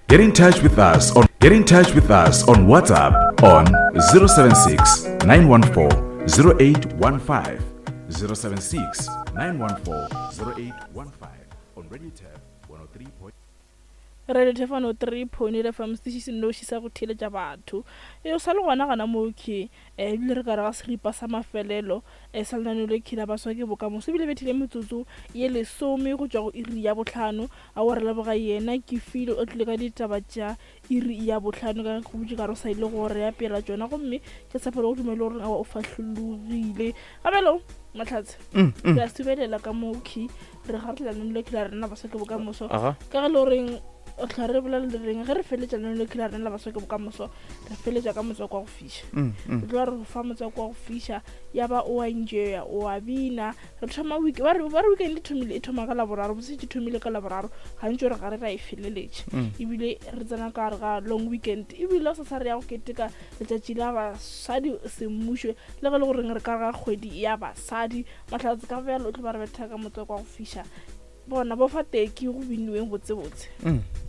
Get in touch with us on Get in touch with us on WhatsApp on 076 914 0815 076 914 0815 on Radio Tap 103. Radio Tap 103.8 FM setiši se nnoši sa go theeletša batho. E o sa le gona gona moo ke eh, ebile re ka re ga seripa sa mafelelo eh, sa lenaneo le khila baswa ke bokamoso ebile bethile metsotso ye lesome go tšwa go iri ya bohlano A wa re leboga yena ke file o tlile ka ditaba tša iri ya bohlano ka ge go butše ka re o sa ile go re apela tšona gomme ke tshepa le go dumele gore awa o fahlologile gabelo mahlatse mm, mm. re a subelela ka mo key re ga re tla le khila rena baswa ke bokamoso ka ge le goreng o tla re bolela le reng ge re feletša leno le khila rena la baswa ke bokamoso re feletša ka motswako wa go fiša mm, re tloga re fa motswako wa go fiša ya ba o a enjoya o a bina Re thoma week ba re ba re weekend e thomile e thoma ka laboraro botse ke thomile ka laboraro gantši re gare ra e feleletša mm. ebile re tsena ka gare ga long weekend ebile sa sa re ya go keteka letšatši la basadi semmušo le ge le goreng re ka ga kgwedi ya basadi mahlatse ka bjalo o tlo ba re betha ka motswako wa go fiša bona bo fa teki go biniweng botsebotse mm.